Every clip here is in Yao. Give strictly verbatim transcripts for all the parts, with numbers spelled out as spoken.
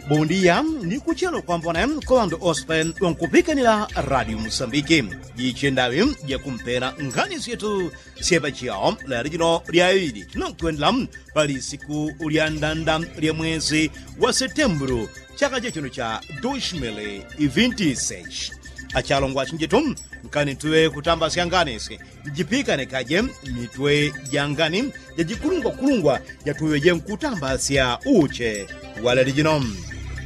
Bondia ni kuchelo kwambona kwa ŵandu ospe ŵankupikanila radio musambiki. Jichendaŵi jakumpela nkhani syetu syepa chiyao lelo jino lya ŵili tinokwendela pali siku lya ndanda lya mwezi wa setembulu chaka chechino cha dos mil e vinte e seis. Achalongwa achinjetu, nkani tuŵe kutambasya nganisi njipikane kaje mitwe jangani jajikulungwakulungwa jatuŵeje nkutambasya uche waleli jino.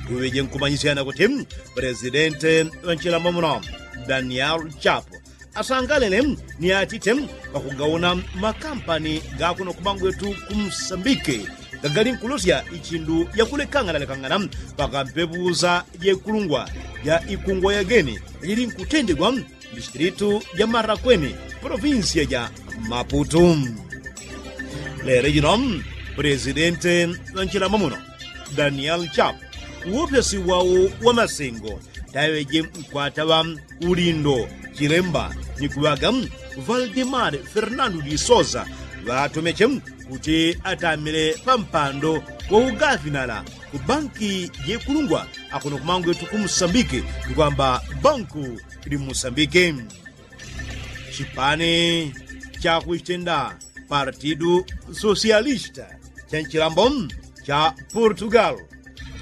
Tuŵeje nkumanyisyana kuti presidente ŵanchilamba muno daniel chapo asangalele ni atite pakugauna makampani gakuno kumangwetu kumsambike gagali nkulosya ichindu yakulekanganalekangana pakampepusa jekulungwa ja ikungwa yageni jili nkutendegwa mdistilitu ja marakweni provinsia ja maputu. Lelo jino presidente ŵanchilamba muno daniel chapo uwopyasi wao wa masengo taŵeje nkwataŵa ulindo chilemba ni kuŵaga valdemar fernando di sosa ŵatomeche kuti atamile pampando wa ugafinala ku banki jekulungwa akuno kumangwetu ku musambiki ni kwamba banku li musambiki. Chipani chakuchitenda partidu sosialista cha nchilambo cha portugal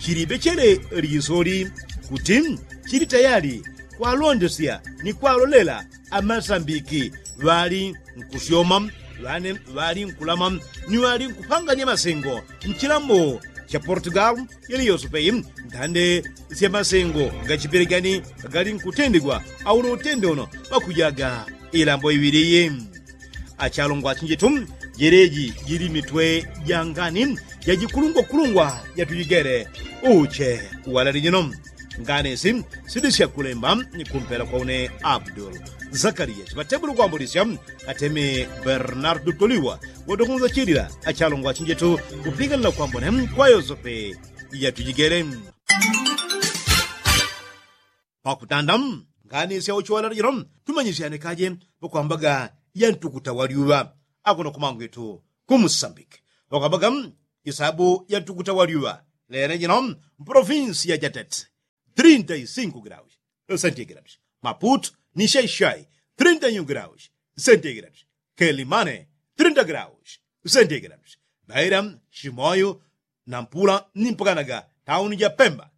chilipechele lisoli kuti chili tayali kwalondesya ni kwalolela amasambiki ŵali nkusyoma ŵane ŵali nkulama ni ŵali nkupanganya masengo nchilambo cha portugal. Yali yose peyi nthande sya masengo gachipelegani gali nkutendegwa auno utende uno pakujaga ilambo iŵili iyi. Achalongwa achinjetu jeleji jili mitwe jangani jajikulungwakulungwa jatujigele uche walali jino. Nganisi sili syakulemba ni kumpela kwa une abdul zakariya chiŵatebule kwambulisya ateme bernardo toliwa wadokunza chilila achalongwa achinjetu kupiganila kwambone kwa yosepe. Yatujigele pakutanda nganisi auchiwalala jino tumanyisyane kaje pakwambaga ya ntukuta wa lyuŵa akuno kumangwetu ku musambiki pakwambaga isabu ya ntukuta wa lyuŵa lele jino mpolofinsi ya jatete trinta i sinku graus sentigradus maputu ni shaishai trinta i un graus sentigradus kelimane trinta graus sentigradus baira shimoyu nampula ni mpakanaga tauni ja pemba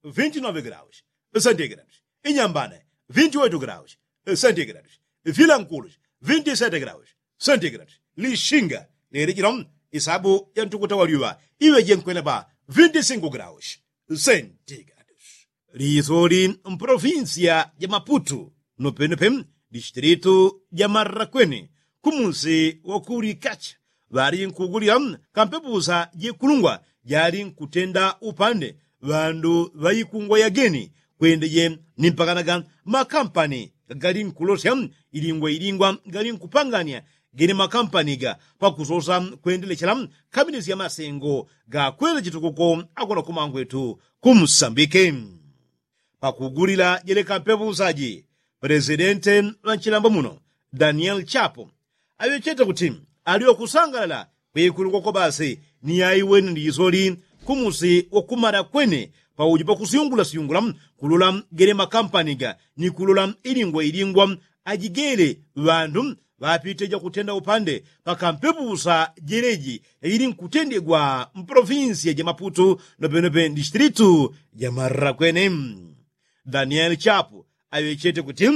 vinti nove graus sentigradus inyambane vinti oitu graus sentigradus vilankulus vinti sete graus sentigradus lishinga lili jino isabu ya ntukuta wa lyuŵa iŵeje nkwenda pa vinti sinku graus sentigradus. Lisoli mpolofinsia ja maputu nopenope distilitu ja marrakweni kumusi wa kulikacha ŵali nkugulila kampepusa jekulungwa jali nkutenda upande ŵandu ŵaikungwa yageni kwendeje ni mpakanaga makampani gagali nkulosya ilingwa ilingwa gali nkupangania gene makampani ga pakusosa kwendelechela kaminisya masengo gakwele chitukuko akona kumangwetu ku musambike. Pakugulila jeleka mpepusa ji pelesidente ŵanchilambo muno daniel chapo aŵechete kuti ali wakusangalala kwikulu kwakobasi ni yaiwene lisoli kumusi wakumala kwene pauji pakusyungulasyungula kulola gele makampani ga ni kulola ilingwa ilingwa ajigele ŵandu ŵapite jakutenda upande pakampepusa jeleji ili nkutendegwa mpolofinsiya ja maputu nopenope ndistilitu ja marara kwene. Danieli chapu aŵechete kuti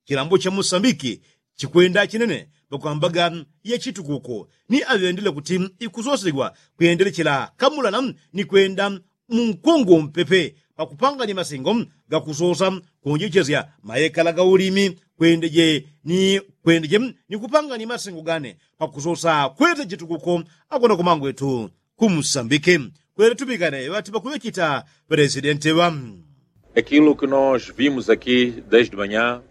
chilambo cha musambiki chikwenda chinene pakwambaga ya chitukuko ni aŵendele kuti ikusosegwa kwendelechela kamulana ni kwenda munkongo mpepe pakupanganya masengo gakusosa kuonjechesya mayekala ga ulimi kwendeje ni kwendeje ni kupanganya masengo gane pakusosa kwete chitukuko akona kumangwetu kumusambike kwele tupikane ŵati pakuŵechita pelesidente ŵa. Aquilo que nós vimos aqui desde manhã,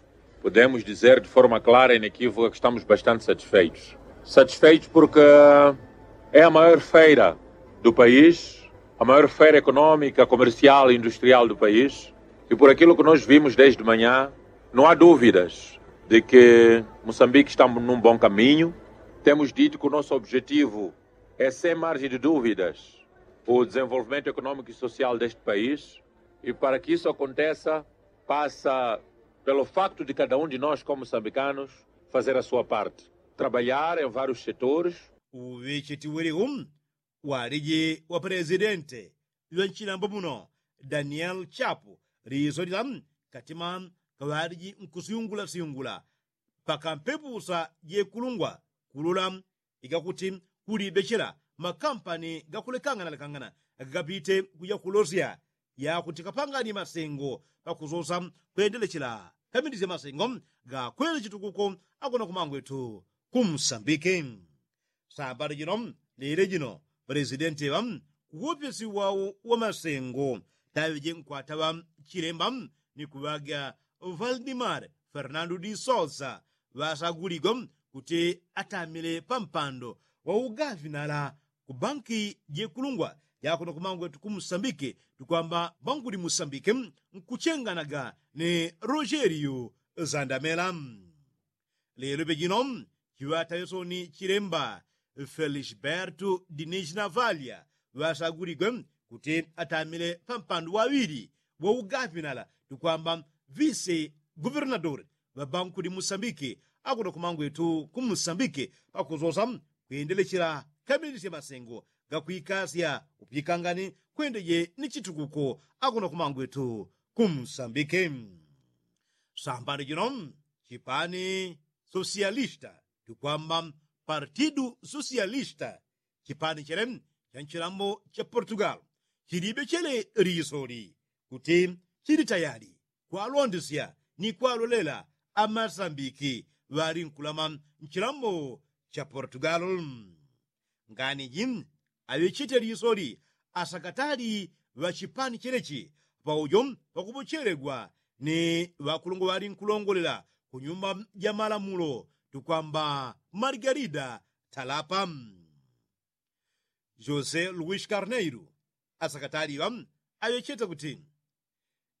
podemos dizer de forma clara e inequívoca que estamos bastante satisfeitos. Satisfeitos porque é a maior feira do país, a maior feira económica, comercial e industrial do país. E por aquilo que nós vimos desde manhã, não há dúvidas de que Moçambique está num bom caminho. Temos dito que o nosso objetivo é, sem margem de dúvidas, O desenvolvimento econômico e social deste país, e para que isso aconteça, passa pelo facto de cada um de nós, como moçambicanos, fazer a sua parte, trabalhar em vários setores. Uŵichiti wiliu waliji wa presidente ŵa nchilambo muno, daniel chapu, liso lila katima kaŵaliji nkusyungula syungula pakampepusa jekulungwa kulula igakuti kulibechela makampani gakulekangana lekangana gagapite kuja kulosya yakuti kapangani masengo pakusosa kwendelechela kamindisya masengo gakwele chitukuko akuno kumangwetu kumsambike. Sambali jino lile jino, pulesidenti ŵa kuwopyesi wau wa masengo taŵeje nkwata ŵa chilemba ni kuŵaga valdimar fernando di sosa ŵasaguligwa kuti atamile pampando wa ugavinala ku banki jekulungwa jakuno kumangwetu kumsambike tukwamba banguli musambike nkuchenganaga ni rogerio zandamela. Lelo pejino chiŵataŵesoni chilemba felisberto dinis navalya ŵasaguligwe kuti atamile pampandu waŵili wa ugavinala tukwamba vise guvernadori ŵa banku di musambike akuno kumangwetu kumsambike pakusosa kwendelechela kamindisya masengo gakwikasya upikangani kwendeje ni chitukuko akuno kumangwetu kumsambike. Sambani jino chipani sosialista tukwamba partidu sosialista chipani chele cha nchilambo cha portugal chilibe chele lisoli kuti chili tayali kwalondesya ni kwalolela amasambiki ŵali nkulama nchilambo cha portugal. Ngani ji aŵechete lisoli asakatali ŵa chipani chelechi paujo pakupochelegwa ni ŵakulungwa ŵali nkulongolela ku nyumba ja malamulo tukwamba margarida talapa. José luis carneiro asakatali ŵa aŵechete kuti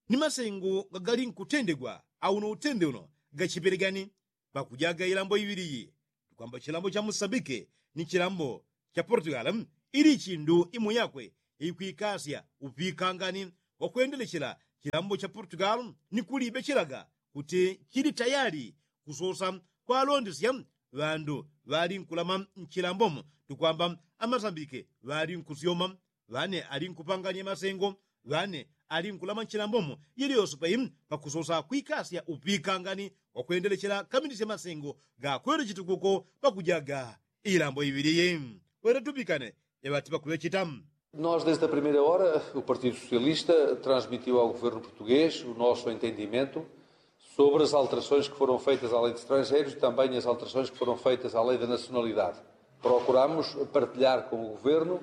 ni masengo gagali nkutendegwa auno utende uno gachipele gani pakujaga ilambo iŵili iyi tukwamba chilambo cha musambike ni chilambo cha portugal ili chindu imo yakwe ikwikasya upikangani wakwendelechela chilambo cha portugal ni kulibechelaga kuti chili tayali kusosa kwalondesya ŵandu ŵali nkulama nchilambomo tukwamba amasambike ŵali nkusyoma ŵane ali nkupanganya masengo ŵane ali nkulama nchilambomo yeliyose pei pakusosa kwikasya upikangani wakwendelechela kamindisya masengo gakwele chitukuko pakujaga ilambo iŵili iyi. Wele tupikane eŵati pakuŵecheta. Nós desde a primeira hora o partido socialista transmitiu ao governo português o nosso entendimento sobre as alterações que foram feitas à lei de estrangeiros e também as alterações que foram feitas à lei da nacionalidade. Procuramos partilhar com o governo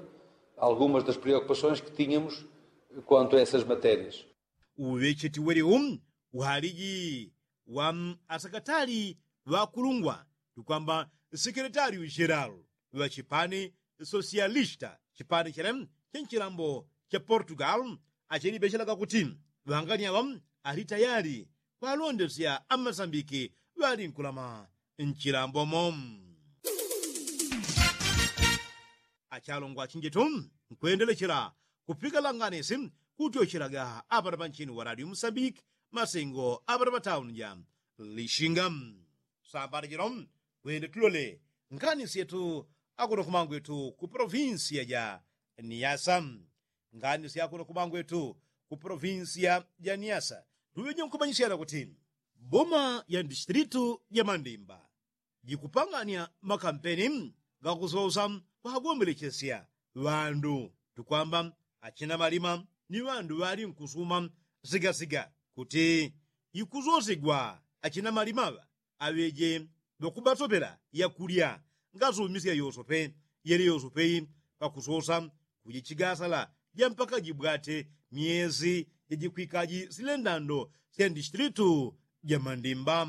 algumas das preocupações que tínhamos quanto a essas matérias. Uŵecheti weliu uhaliji wa asakatali ŵakulungwa tukwamba sekeletali ucheral ŵa chipani sosialista chipani chele cha nchilambo cha portugal achelibechelaga kuti ŵangani aŵa ali tayali kwalondesya amasambiki ŵali nkulama nchilambomo. Achalongwa achinjetu nkwendelechela kupika langanisi kutyochelaga apana panchini wa radio musambiki masengo apana patauni ja lishinga. Sambani jino kwende tulole nganisi yetu akuno kumangwetu ku provinsiya ja niasa. Nganisi yakuno kumangwetu ku provinsiya ja niasa tuŵeje nkumanyisyana kuti boma ya distritu ja mandimba jikupangania makampeni gakusosa kwagombelechesya ŵandu tukwamba achina malima ni ŵandu ŵali nkusuma sigasiga kuti jikusosigwa achina malima ŵa aŵeje ŵakubatopela yakulya ngasumisya yosope yele yosope pakusosa kujichigasala ja mpaka jibwate myesi jajikwikaji silendando sya distritu ja mandimba.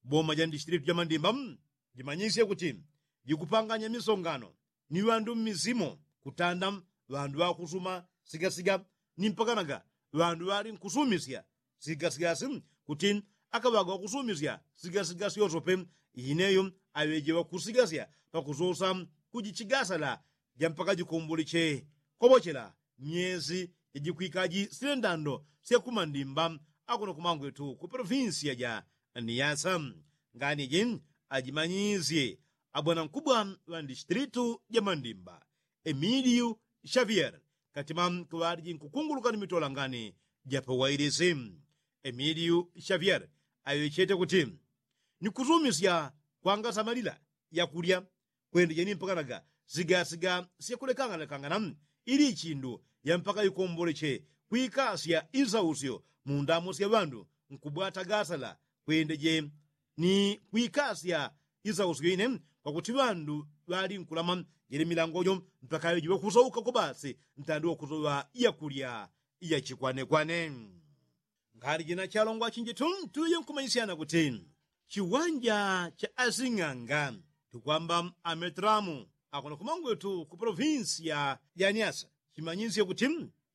Boma ja distritu ja mandimba jimanyisye kuti jikupanganya misongano ni ŵandu mmisimo kutanda ŵandu ŵakusuma sigasiga ni mpakanaga ŵandu ŵali nkusumisya sigasigasi kuti akaŵaga ŵakusumisya sigasigasi yosope ineyo aŵeje ŵakusigasya pakusosa kujichigasala jampaka jikomboleche kopochela myezi jajikwikaji sile ndando sya kumandimba akuno kumangwetu ku polofinsiya ja niyasa. Ngani ji ajimanyisye abwanankubwa ŵa ndishitilitu ja mandimba emiliu shavier katima kuŵaliji nkukunguluka ni mitola ngani ja pawailisi. Emiliu shavier aŵechete kuti ni kusumisya kwanga samalila yakulya kwende jeni mpakanaga sigasiga syakulekangana lekangana ili ichindu yampaka ikomboleche kwikasya isausyo mu ndamo sya ŵandu nkubwata gasala kwende je ni kwikasya isausyo ine pakuti ŵandu ŵali nkulama jele milango jo mpaka yo jiŵe kusauka kobasi ntandi wakusoŵa yakulya yachikwanekwane. Ngali jina chalongwa chinji tu tuye nkumanyisyana kuti chiwanja cha asing'anga tukwamba ametramu akuno kumangwetu ku polofinsiya ja nyasa chimanyisye kuti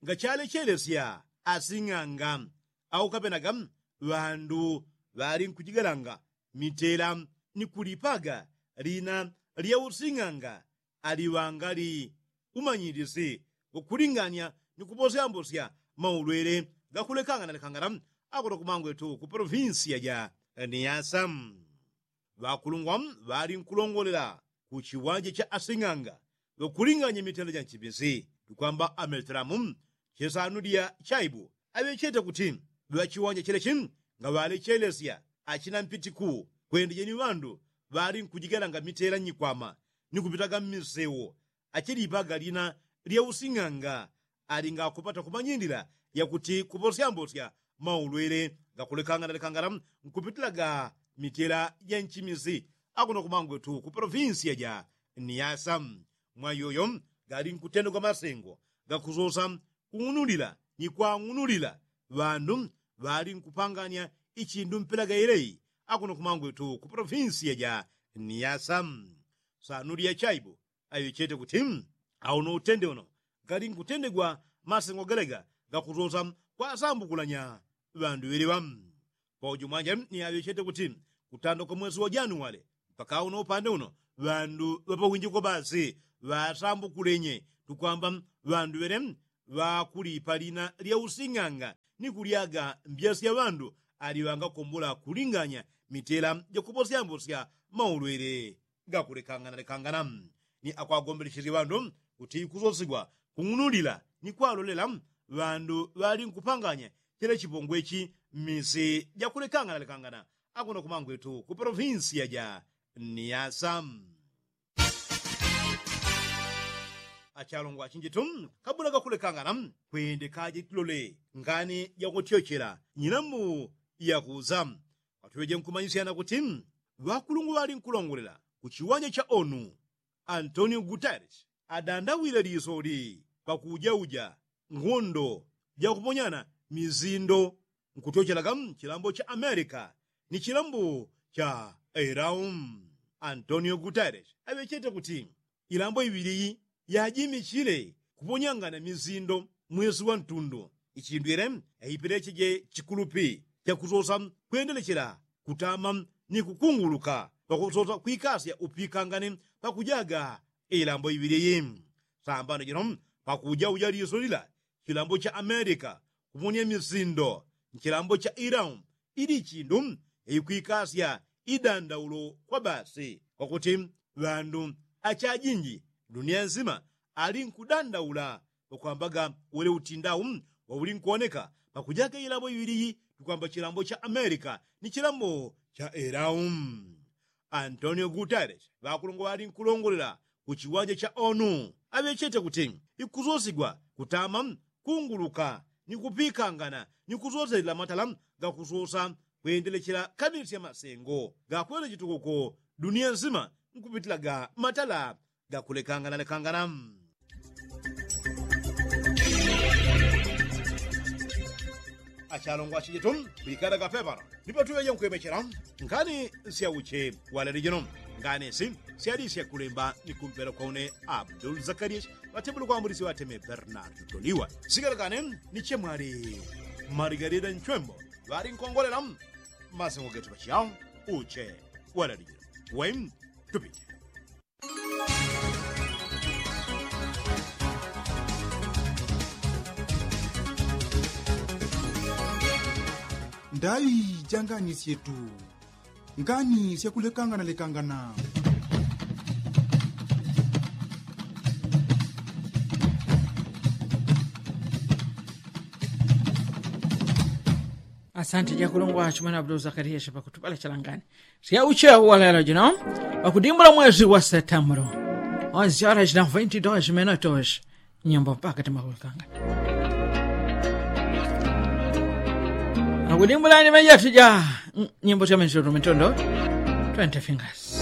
ngachalechelesya asing'anga au kapenaga ŵandu ŵali nkujigalanga mitela ni kulipaga lina lya using'anga aliŵangali umanyilisi ukulinganya ni kuposyambosya maulwele gakulekangana lekangana akuno kumangwetu ku polofinsiya ja niyasa. Ŵakulungwa ŵali nkulongolela ku chiwanja cha asing'anga ŵakulinganya mitela ja nchimisi tukwamba ametelamu chisanu lya chaibu aŵechete kuti ŵachiwanja chilechi ngaŵalechelesya achina mpitiku kwende jeni ŵandu ŵali nkujigalanga mitela nyikwama ni kupitaga mmisewo achilipaga lina lya using'anga ali ngakupata kumanyilila yakuti kuposyambosya maulwele gakulekangana lekangana nkupitilaga mitela ja nchimisi akuno kumangwetu ku polofinsiya ja niyasa. Mwa yoyo gali nkutendegwa masengo gakusosa kung'unulila ni kwang'unulila ŵandu ŵali nkupanganya ichindu mpela gailei akuno kumangwetu ku polofinsiya ja niyasa. Sanu lya chaibu aŵechete kuti auno utende uno gali nkutendegwa masengo galega gakusosa kwasambukulanya ŵandu ŵeleŵa. Paujo mwanja ni aŵechete kuti kutanda kwa mwesi wa januwale mpaka uno upande uno ŵandu ŵapawinji kobasi ŵasambukulenye tukwamba ŵandu ŵele ŵakulipa lina lya using'anga ni kulyaga mbya sya ŵandu aliŵangakombola kulinganya mitela jakuposyambosya maulwele gakulekangana lekangana ni akwagombelechesye ŵandu kuti ikusosigwa kung'unulila ni kwalolela ŵandu ŵali nkupanganya chele chipongwechi mmisi jakulekangana lekangana akuno kumangwetu ku polofinsiya ja niyasa. Achalongwa achinjitu kabula gakulekangana kwende kaje tilole ngani jakutyochela nyilambu yakuza. Kwatuŵeje nkumanyisyana kuti ŵakulungwa ŵali nkulongolela ku chiwanja cha onu antonio guteres adandawile lisoli pakujauja ngondo jakuponyana mizindo nkutyochelaga chilambo cha amerika ni chilambo cha irau. Antonio guteres aŵechete kuti ilambo iŵiliyi yajimichile kuponyangana mizindo mwesi wa ntundu ichindwile yaipilecheje chikulupi chakusosa kwendelechela kutama ni kukunguluka pakusosa kwikasya upikangane pakujaga ilambo iŵiliyi. Sambano jino pakuja uja liso lila chilambo cha amerika kuponya mizindo nchilambo cha irau ili chindu ikwikasya idandaulo kwa basi kwakuti ŵandu achajinji dunia nsima ali nkudandaula pakwambaga wele utindau wauli nkuoneka pakujaga ilambo iŵiliyi tukwamba chilambo cha amerika ni chilambo cha irau. Antonio guteres ŵakulongola ŵali nkulongolela ku chiwanja cha onu aŵechete kuti ikusosigwa kutama kunguluka ni kupikangana ni kusoselela matala gakusosa kwendelechela kamisya masengo gakwele chitukuko dunia nsima nkupitilaga matala gakulekanganalekangana. Achalongwa achijetu kwikala kapepala nipo tuŵeje nkwemechela nkhani syauche walele jino nganesi syalisya kulemba ni kumpela kwa une abdul zakarias ŵatebule kwambulisi ŵateme bernard toliwa sikalakane ni chemwali marigarida nchwembo ŵali nkongolela masengo getu pachiyao uche walele jino we tupite. Ndaŵi jangani syetu ngani syakulekangana lekangana. Asante jakulungwa chumana abdul zakariya shapakutupala chalangani. Syauche walelo jino wakudimbula mwezi wa setambulo. Onsyala jina vinti dos minutos. Nyimbo mpaka timakulekangana. Akudimbula ni mejati ja nyimbo syamensoto mitondo. Twenty fingers.